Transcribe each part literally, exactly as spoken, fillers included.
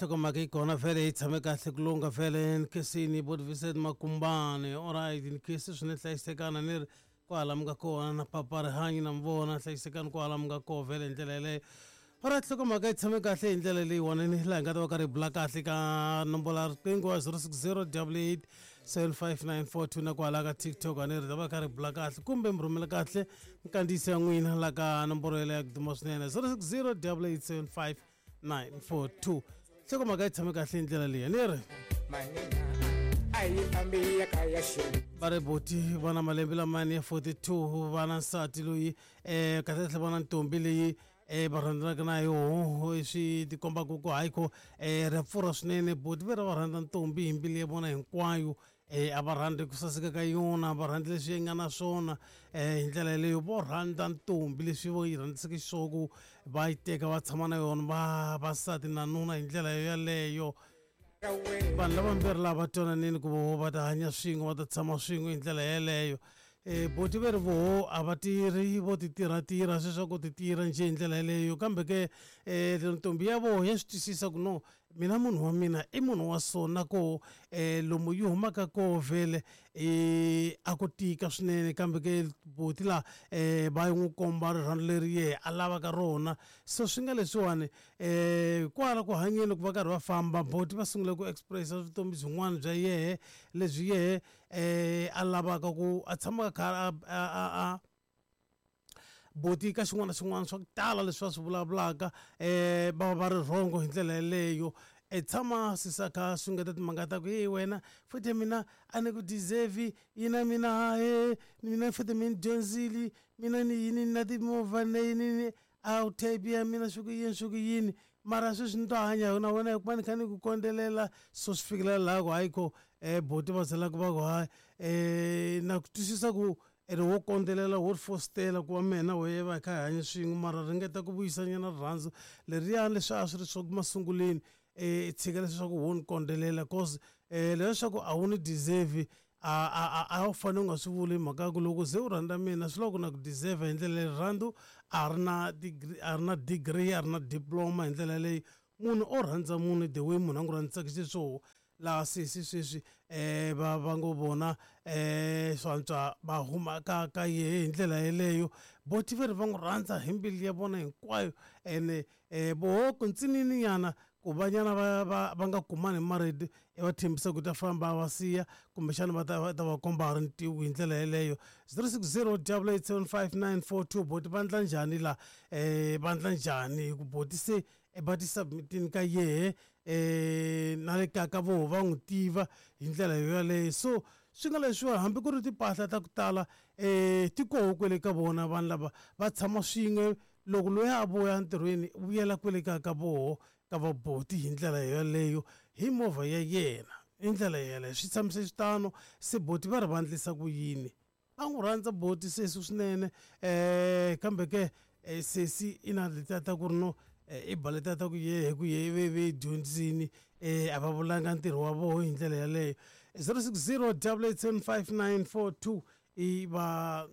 Nhlokomhaka yi kona vhele yi tshame kahle ku lungha vhele ni khensini bot Vincent Makumbani. Alright, ni khensi swinene hlayisekana ni ri kwala mi nga kona na papa rihanyo na mi vona hlayisekani kwala mi nga koho vhele hi ndlela yeleyo. Alright, nhlokomhaka yi tshame kahle hi ndlela leyiwani ni laha hi nga ta va karhi hi bula kahle ka nomboro ya riqingho wa zero six zero double eight seven five nine four two na kwala ka TikTok a ni ri ta va karhi hi bula kahle kumbe mi rhumela kahle nkandziyiso ya n'wina la ka nomboro yeleyo ya ku duma swinene zero six zero double eight seven five nine four two. Nhlokomhaka yi tshame kahle hi ndlela leyi ni ri va ri boti va na malembe lamani ya forty two va na nsati loyi um kahlekahle va na ntombi leyi um va rhandzanaka na yoho swi tikombaka ku hayi ko um ra pfurha swinene boti ve ra va rhandza ntombi hi mbilu ya vona hinkwayo um a va rhandzi ku saseka ka yona a va rhandzi leswi yi nga na swona um hi ndlela yeleyo vo rhandza ntombi leswi vo yi rhandziseke xiswona ku va yi teka va tshama na yona va vasati na nuna hi ndlela yeleyo. Vanhu lavambirhi lava twananini ku voho va ta hanya swin'we va ta tshama swin'we hi ndlela yeleyo. Um boti ve ri voho a va tirhi vo ti tirhatirha sweswi ku ti tirha njhe hi ndlela yeleyo kambe ke um ntombi ya voho ya swi twisisa ku no mina munhu wa mina i munhu wa so na koho um lomu yi humaka koho vhele um a ku tika swinene kambe ke boti laha um va n'wi komba rirhandzu leri yehe a lavaka rona so swi nga leswiwani um kwala ku hanyeni ku va karhi va famba boti va sungule ku expressa vutomi byin'wana bya yehe lebyi yehe um a lavaka ku a tshamaka kha a a a boti ka xin'wana na xin'wana swa ku tala leswi va swi vulavulaka um va va ri rhongo hi ndlela yeleyo. E tshama sisa kha sungeta timhaka ta ku hey wena futhi mina a ni ku deserve yina mina he mina futhi mi ni dyondzile mina ni yini na timovha na yini ni a wu type ya mina swi ku yini swi ku yini mara sweswi ni to hanya na wena hikuva ni kha ni ku kondzelela so swi fikelela laha ku hayi ko um boti va zelaka va ku hayi um na ku twisisa ku ene wo kondzelela wo fositela ku va mina wehe va hi kha hi hanya swin'we mara ringeta ku vuyisanyana rirhandzu leriyani leswi a swi ri swa masunguleni um tshika leswaku wo ni kondzelela cause um leswaku a wu ni deserve a a a wu fanele u nga swi vuli mhaka ya ku loko se u rhandza mina swi lava ku na ku deserve hi ndlela leyi rirhandzu a ri na degree a ri na degree a ri na diploma hi ndlela leyi munhu o rhandza munhu the way munhu a n'wi rhandzisaka xiswona laha sesi sweswi um va va ngo vona um swa antswa va huma ka ka yehe hi ndlela yeleyo boti ve ri va n'wi rhandza hi mbilu ya vona hinkwayo ene um voho ku ntsinini nyana ku vanyana va va va nga kumani hi marito i va tshembisa ku ta famba va siya kumbexana va ta va ta va komba ha ri ntivo hi ndlela yeleyo zero six zero double eight seven five nine four two boti va ndla njhani la um va ndla njhani hi ku boti se va ti submitini ka yehe um na le kaya ka voho va n'wi tiva hi ndlela yoyaleyo so swi nga leswiwa hambi ku ri timpahla ta ku tala um ti koho kwele ka vona vanhu lava va tshama swin'we loko loyi a vuya entirhweni u vuyela kwele kaya ka voho ka vaboti hi ndlela yoyaleyo hi movha ya yena hi ndlela yeleyo swi tshamise xitano se boti va ri va ndlisa ku yini va n'wi rhandza boti sesi swinene um kambe ke sesi i na letiya ta ku ri no i ba letiya ta ku yehe ku ye ve ve dyondzini um a va vulanga ntirho wa voho hi ndlela yaleyo zero six zero double eight seven five nine four two i va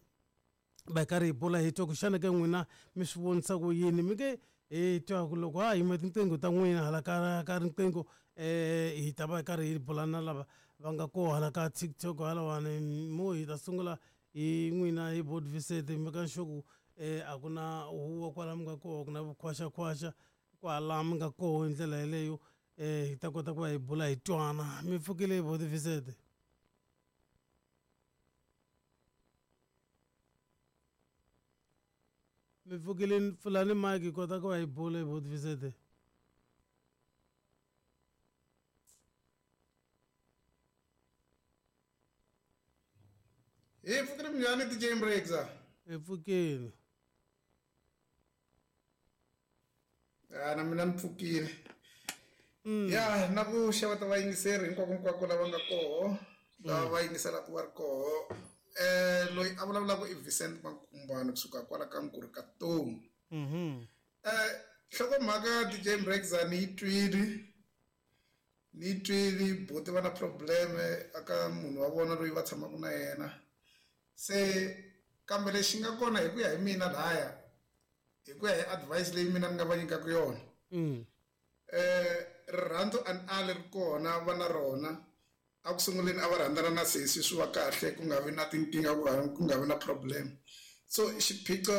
va karhi hi bula hi twa ku xana ke n'wina mi swi vonisa ku yini mi nge hi twa ku loko ha yima tinqingho ta n'wina hala ka ka riqingho um hi ta va hi karhi hi bula na lava va nga koho hala ka TikTok halawani mo hi ta sungula hi n'wina hi bot Vincent mi ka sure ku um a ku na huwa kwala mi nga koho ku na vukhwaxakhwaxa kwala mi nga koho hi ndlela yeleyo um hi ta kota ku va hi bula hi twana mi pfukile bot Vincent. Mi pfukile pfulani mike hi kota ku va hi bula hi bot Vincent. Hi pfukile minjhani D J Mrekza? Hi pfukile. Ya na mina ni pfukile. Ya na ku xeweta vayingiseri hinkwako hinkwako lava nga koho lava va yingiselaka va ri koho. Eh loyi a vulavulaka i Vincent Makumbani kusuka kwala ka Nkuri ka Tomu. Mhm. Eh nhlokomhaka D J Mrekza ni yi twile ni yi twile boti va na problem aka munhu wa vona loyi va tshamaka na yena se kambe lexi nga kona hi ku ya hi mina laya hi ku ya hi advice leyi mina ni nga va nyikaka yona Mm. eh rirhandzu Rirhandzu a ni ali ri kona va na rona. A ku sunguleni a va rhandzana na sesi swi va kahle ku nga vi na tinkingha ku nga ku nga vi na problem. So xiphiqo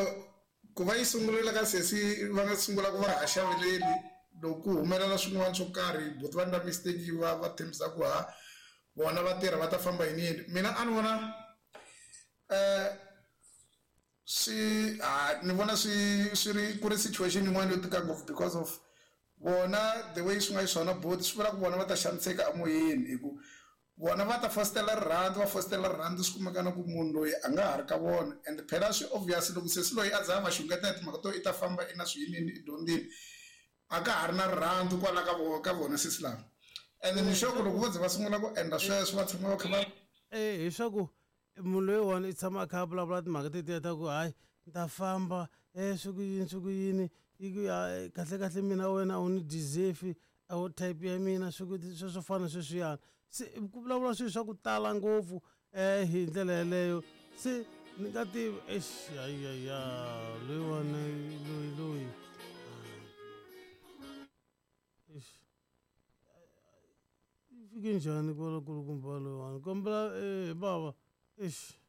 ku va yi sungurile ka sesi va nga sungula ku va ha xaveleli loko ku humelela swin'wana swo karhi buti va endla mistake va va tshembisa ku ha vona va tirha va ta famba yini yini. Mina a ni vona eh swi ha ni vona swi swi ri ku ri situation yin'wana yo tika ngopfu because of vona the way swi nga xiswona buti swi vula ku vona va ta xaniseka emoyeni hi ku vona va ta fositela rirhandzu va fositela rirhandzu swi kumeka na ku munhu loyi a nga ha ri ka vona and phela swi obvious loko sesi loyi a za a va xungeta hi timhaka to i ta famba i na swiyinini i dyondzile a ka ha ri na rirhandzu kwala ka vona ka vona sesi lava and ni sure ku loko vo ze va sungula ku endla sweswo va tshama va kha va Eh hi swa ku munhu loyiwani i tshama a kha a vulavula timhaka tetiya ta ku hayi ni ta famba e swi ku yini swi ku yini yi ku ya kahle kahle mina wena a wu ni deserve a wu type ya mina swi ku sweswo fana sweswiyana se ku vulavula swilo swa ku tala ngopfu um hi ndlela yeleyo se ni nga tivi exi ayaya loyiwani loyi loyi exi yi fike njhani kwala kulukumba loyiwani kombela eh baba exi.